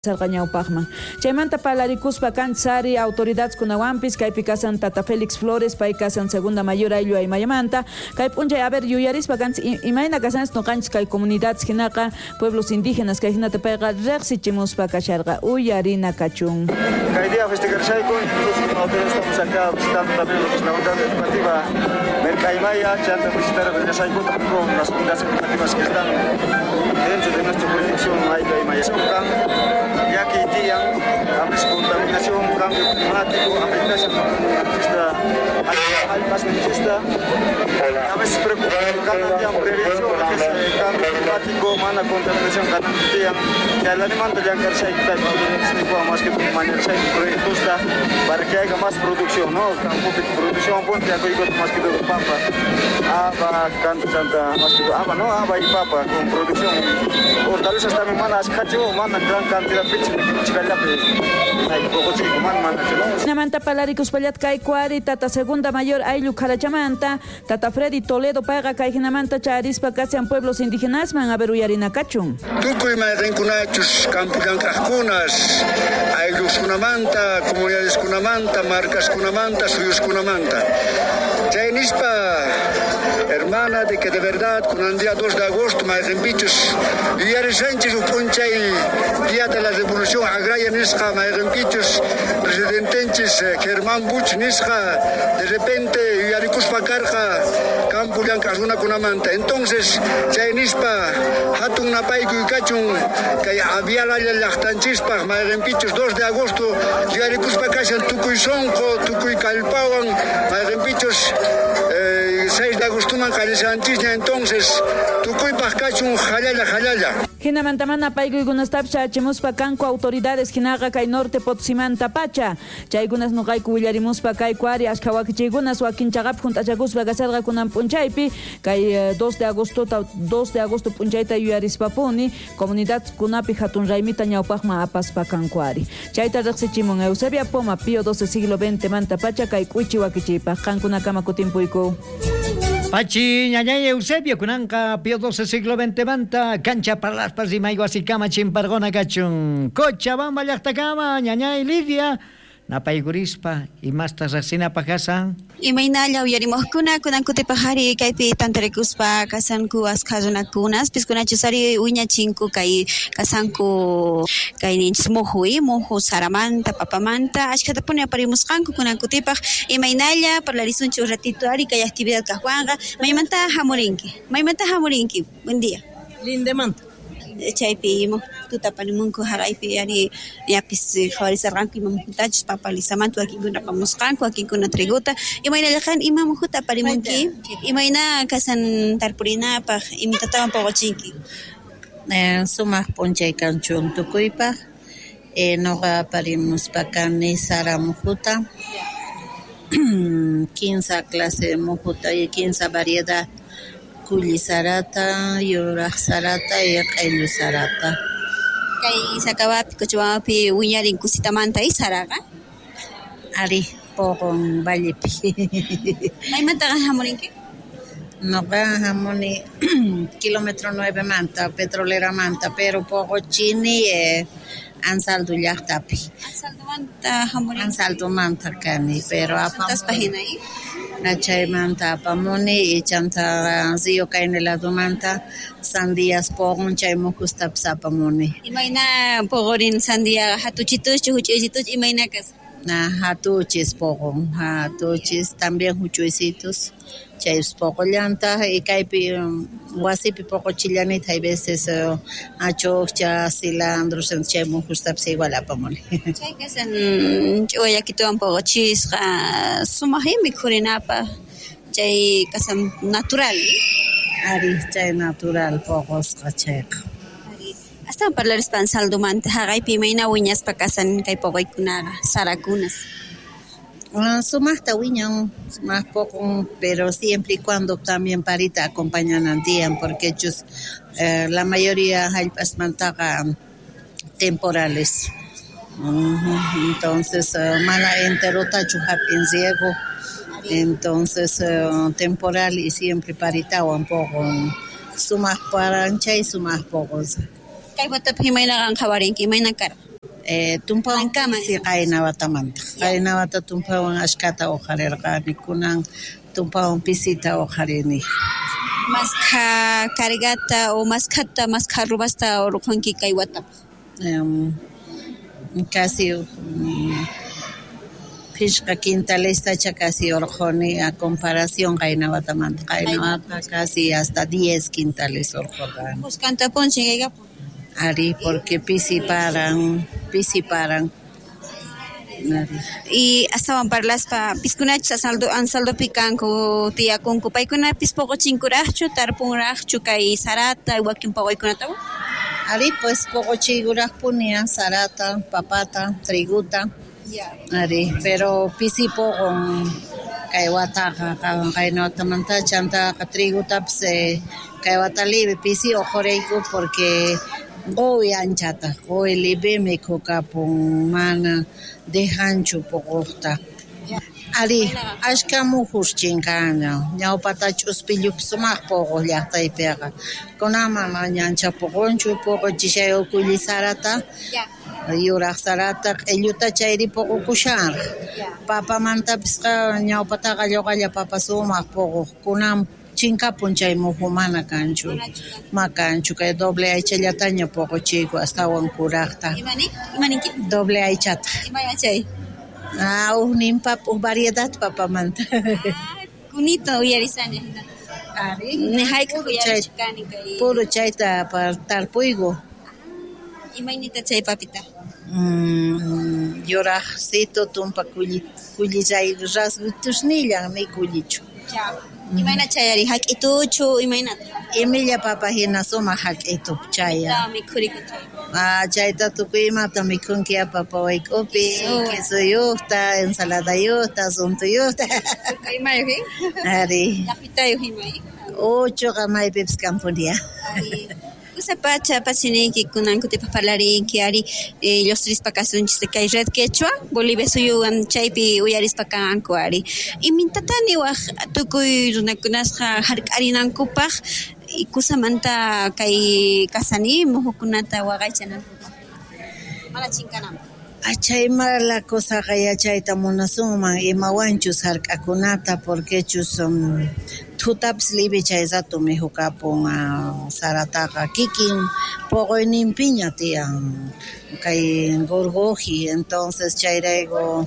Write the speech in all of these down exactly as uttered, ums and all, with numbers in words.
Sarqa ñawpaqman. Chaymanta parlarikuspa kanchari autoridades kunawanpis kaypi kasan Tata Félix Flores, pay kasan segunda mayor ayllu aymayamanta. Kay p'unchay a ver yuyarispa kanchis imayna kasanchis nuqanchis kay comunidades hinaqa pueblos indígenas kay hinata payqa riqsichimuspa kasharqa uyarina kachun. Kay día festejarsayku, incluso con autoridades estamos acá visitando también lo que es la unidad educativa Mercaimaya, chanta visitar regresayku con las unidades educativas que están dentro de nuestra jurisdicción ayllu aymaya. Llaki tiyan, a veces contaminación, cambio climático, afectación nuestra almas nuestra, a veces preocupación, cada prevención, lo que es el cambio climático, mana contaminación, cada día, que al animal de llancarse hay que más que manejar proyectos para que haya más producción, ¿no? Campo de producción, ponte a más que todo papa, aba, canta, más que todo, aba, no, aba y papa con producción. Hortalizas también mana, ascacho, mana gran cantidad Namanta palarikuspallatka kay kuari tata segunda mayor ayllu kharachamanta tata Freddy Toledo payqa kay hinamanta charispa kasian pueblos indígenas man a ver uyarina kachun. Tukuy mayqinkunachus campo llank'aqkunas aylluskunamanta comunidadeskunamanta marcaskunamanta suyuskunamanta chay nispa hermana de que de verdad con el día dos de agosto mayqinpichus yuyarishanchis uj p'unchay día de la revolución agraria nisqa mayqinpichus presidentenchis Germán Buch nisqa de repente yuyarikuspa karqa campo llank'aq runakunamanta. Entonces chay nispa hatun napaykuy kachun kay avialalla llaqtanchispaq mayqinpichus dos de agosto yuyarikuspa kashan tukuy sonqo tukuy kallpawan mayqinpichus eh, seis de agostoman qallishanchisña. Entonces tukuypaq kachun jalalla jalalla. Hinamanta mana paykuykunastapis chachimuspa kanku autoridades hinaqa kay norte Potosímanta pacha chaykunas nuqayku willarimuspa kayku ari ashkha wakichiykunas wakin chaqapi junt'achakuspa kasarqa kunan p'unchaypi kay dos de agosto dos de agosto p'unchayta yuyarispapuni comunidad kunapi hatun raymita ñawpaqman apaspa kanku ari chayta riqsichimun Eusebia Poma Pío doce siglo veinte manta pacha kay k'uichi wakichiypaq qankunakama kutimpuyku. Pachi ñañay Eusebio kunanqa Pío doce siglo veinte manta cancha parlaspas y mayguasikama chimpargona kachun Cochabamba llaqtakama ñañay Lidia napaykurispa imasta riqsinapaq kasan. Imaynalla uyarimuqkuna kunan kutipaq ari kaypi tantarikuspa kasanku askha runakunas piskunachus ari wiñachinku kay kasanku kay ninchis muhu muhu saramanta papamanta ashkhatapuni aparimusqanku kunan kutipaq imaynalla parlarisunchik ratito ari kay actividad kaqwanqa maymanta hamurinki maymanta hamurinki buen día. Lindemanta. Chaypi muhuta aparimunku haraypi ari yapis qhawarisarqanku ima muhutachus papa lisamanta wakinkuna apamusqanku wakinkuna triguta imaynalla qan ima muhuta aparimunki imayna kasan tarpurinapaq imatatawan puquchinki. Eh, sumaq p'unchay kanchun tukuypaq eh, nuqa aparimuspa kani sara muhuta kinsa clase muhuta y kinsa variedad kulli sarata, yuraq sarata y q'illu sarata. Kay Sakawapi, Cochabambapi wiñarin kusitamanta y saraqa? Ari, puqun vallepi. Maymantaqa hamurinki? Nuqa hamuni kilómetro nueve manta, petrolera manta, pero puquchini eh, Ansaldo llaqtapi. Ansaldomanta hamurinki? Ansaldomanta kani, pero apamuni. Hina Chaymanta apamuni y chanta río Caineladomanta sandías poqon chay muhustapis apamuni. Imayna poqorin sandia hatuchituschu huch'uysituschu imayna kas? Na hatuchis poqon, hatuchis también huch'uysitus chaypis poqollantaq y kaypi wasipi poqochillanita hay veces uh, achukcha, cilantro, chay muhustapis igual apamuni. Chay kasan ch'uwa llakituwan poqochisqa sumaqmi mikhurinapaq chay kasan natural. Ari chay natural poqosqa chayqa. Astawan parlarispa Ansaldomanta haqaypi imayna wiñaspa kasan kay poqoykunaqa sarakunas. Uh, sumaqta wiñan, sumaq poqon, pero siempre y cuando también parita acompañanan tiyan porque chus eh, la mayoría hallp'asmantaqa temporales. Uh-huh. Entonces uh, mana enterotachu hap'in riego, entonces uh, temporal y siempre paritawan poqon, sumaq paranchay sumaq poqon. Kay watapi imayna qan qhawarinki imayna karqa? Eh, tumpawan pisi qayna watamanta. Qayna wata tumpawan ashkata uqharirqani, kunan tumpawan pisita uqharini. Maskha cargata o maskhata maskha rubasta urqunki kay watapaq? Um, casi um, phishqa quintalestacha casi urquni a comparación qayna watamanta. Qayna wata casi hasta diez quintales urqurqani. Kuskantapun chinkaykapun. Ari, porque pisi paran, pisi paran. Y astawan parlaspa piskunachus asaldo ansaldopi kanku tiyakunku paykunapis poqochinkuraqchu tarpunraqchu kay sarata wakin poqoykunatawan? Ari, pues poqochiykuraqpuni sarata, papata, triguta. Ari, pero pisi poqon kay wataqa qayna watamanta chantaqa trigutapis eh, kay wata libre pisi uqhurayku porque qowi anchata, qowi libre mikhukapun mana dejanchu poqoqta. Ari, ashka mujus chinkaña, ñawpata ch'uspillupi sumaq poqoq llaqtaypiqa. Kunan mana ancha poqonchu, poqochishay ukulli sarata, yuraq sarata, q'illuta chayri poqokushanraq. Papamantapisqa ñawpataqa lluqalla papa sumaq poqoq, kunan chinkapun chay muju mana kanchu, ma kanchu, kay doble aychallataña poqochiyku astawan kuraqta. Imani? Imaninki? Doble aychata. Imay achay? Ah, ujnin papa, uj variedad papamanta. Ah, kunito uyarisani. Ari, Ni hayk'aq puro chay, uyarichkani kay puro chayta tarpuyku. Imaynita chay papita? Mm, yuraqsito tumpa kulli kullillay rasgutusnillan ni kullichu. Imayna chayari hak'ituchu imaynata? Imilla papa hina sumaq hak'itu chaya. Mikhuriku chay. Ah, chayta tukuy imata mikhunki papa wayk'upi, quesuyuqta, ensaladayuqta, suntuyuqta. Imayuq, eh? Ari. Llaqtayuq imay. Uchuqa maypipis kampunia. Kusapacha pachiniyki kunan kutipaq parlarinki ari eh, lluqsirispa kasunchis kay Red Quechua Bolivia suyuwan chaypi uyarispa kanku ari. Imintatani waq tukuy runakunasqa hark'arinankupaq kusamanta kay kasani muhukunata waqaychanankupaq mana chinkananpaq. Achay mala kosaqa yachayta munasunman imawanchus hark'akunata porquechus um, thutapis libre chay rato mikhukapun uh, sarataqa kikin poqoyninpiña tiyan kay gorgoji, entonces chayrayku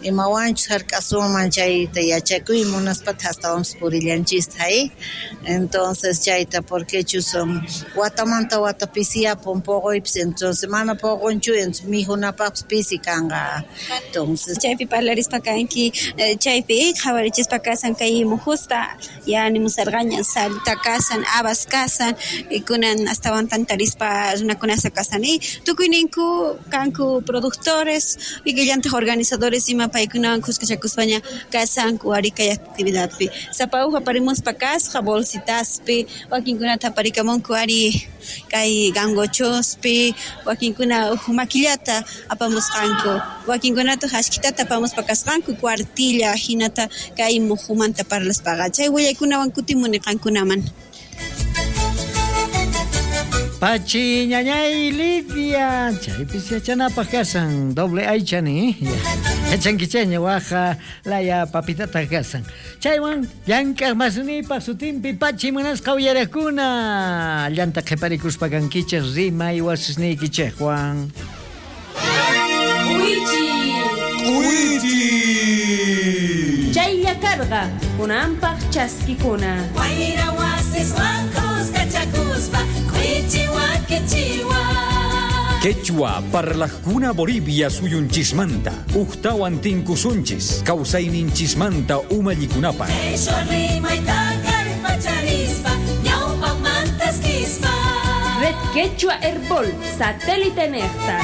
imawanchus hark'asunman chayta yachakuy munaspata astawanpis purillanchista eh? Entonces chayta porquechus um, watamanta wata pisiyapun poqoypis, entonces mana poqonchu, entonces mikhunapaqpis pisi kanqa. Entonces chaypi parlarispa kanki chaypi qhawarichispa kasan kay mujusta ya nimusarqaña salta kasan habas kasan kunan astawan tantarispa runakunasa kasan y tukuyninku kanku productores y killantaq organizadores ima paykunawan kuskachakuspaña kasanku ari kay actividadpi sapa uj aparimuspa kasqa bolsitaspi wakinkunata aparikamunku ari kay gangochospi wakinkuna uj makillata apamusqanku wakinkunata ashkitata apamuspa kasqanku cuartilla hinata kay mujumanta parlaspaqa chay willaykunawan kutimuni qankunaman. Pachi ñañay Lidia, chaypis yachanapaq kasan doble aychani, yachankichaña waja laya papitata kasan. Chaywan llank'aq masnipaq sutinpi pachi munasqa uyariqkuna, llanta qhiparikuspa kankichik rimay wasisniykichikwan. K'uychi. K'uychi. Chaylla karqa kunanpaq chaskikuna. Wayra wasiswan kuskachakuspa k'uychi wakichiwa. Quechua parlajkuna Bolivia suyunchismanta, ujtawan tinkusunchis, kawsayninchismanta umallikunapaq. Qhishwa rimayta kallpacharispa ñawpaqmantaskispa. Red Quechua Herbol, satélite nejta.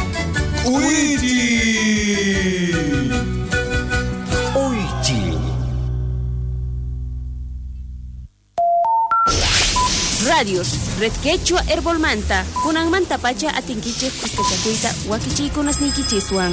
K'uychi. Uychi. Radios, Red Quechua Herbolmanta, kunanmanta pacha atinkichik kuskachakuyta wakichiykunasniykichiswan.